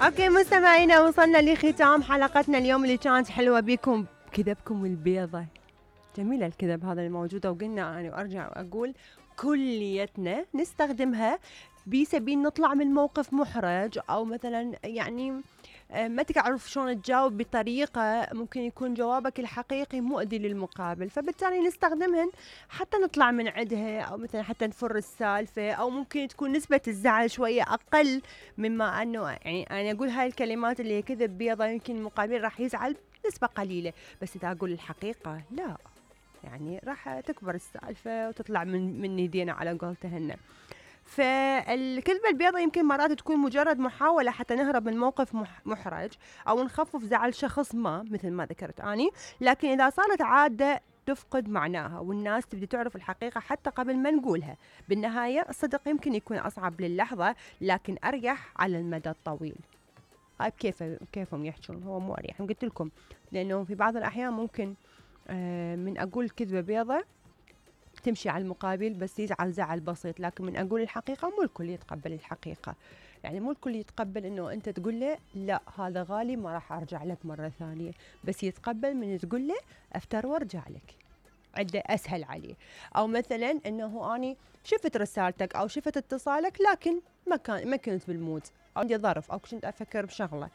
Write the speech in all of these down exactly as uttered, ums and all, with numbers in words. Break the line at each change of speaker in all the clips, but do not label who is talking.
اوكي مستمعينا، وصلنا لختام حلقتنا اليوم اللي كانت حلوة بكم كذبكم البيضة. جميلة الكذب هذا الموجودة، وقلنا أنا وأرجع وأقول كليتنا نستخدمها بسبيل نطلع من موقف محرج، أو مثلا يعني ما تعرف شلون تجاوب بطريقة ممكن يكون جوابك الحقيقي مؤذي للمقابل، فبالتالي نستخدمهن حتى نطلع من عندها، أو مثلا حتى نفر السالفة، أو ممكن تكون نسبة الزعل شوية أقل مما أنه يعني أنا أقول هاي الكلمات اللي هي كذب بيضة يمكن المقابل راح يزعل نسبة قليلة، بس إذا أقول الحقيقة لا، يعني راح تكبر السالفة وتطلع من من يدينا على قولتهن. فالكذبة البيضاء يمكن مرات تكون مجرد محاولة حتى نهرب من موقف محرج أو نخفف زعل شخص ما مثل ما ذكرت أني، لكن إذا صارت عادة تفقد معناها والناس تبدي تعرف الحقيقة حتى قبل ما نقولها. بالنهاية الصدق يمكن يكون أصعب للحظة لكن أريح على المدى الطويل. هاي كيف كيفهم يحجون، هو مو أريح، قلت لكم لأنه في بعض الأحيان ممكن آه من أقول كذبة بيضة تمشي على المقابل بس يزعل زعل بسيط، لكن من أقول الحقيقة مو الكل يتقبل الحقيقة، يعني مو الكل يتقبل إنه أنت تقول له لا هذا غالي ما راح أرجع لك مرة ثانية، بس يتقبل من تقول له أفتر وارجع لك، عده أسهل عليه. أو مثلا إنه أني شفت رسالتك أو شفت اتصالك لكن ما كان ما كنت بالمود، أو عندي ظرف أو كنت أفكر بشغلة،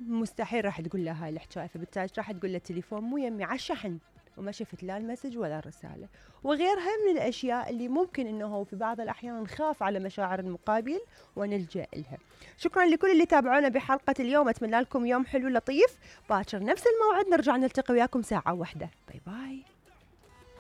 مستحيل راح تقول له هاي الحكاية، فبالتالي راح تقول له التليفون مو يمي على الشحن وما شفت لا المسج ولا الرسالة، وغيرها من الأشياء اللي ممكن إنه في بعض الأحيان نخاف على مشاعر المقابل ونلجأ لها. شكرا لكل اللي تابعونا بحلقة اليوم، أتمنى لكم يوم حلو لطيف، باكر نفس الموعد نرجع نلتقي وياكم ساعة واحدة. باي باي.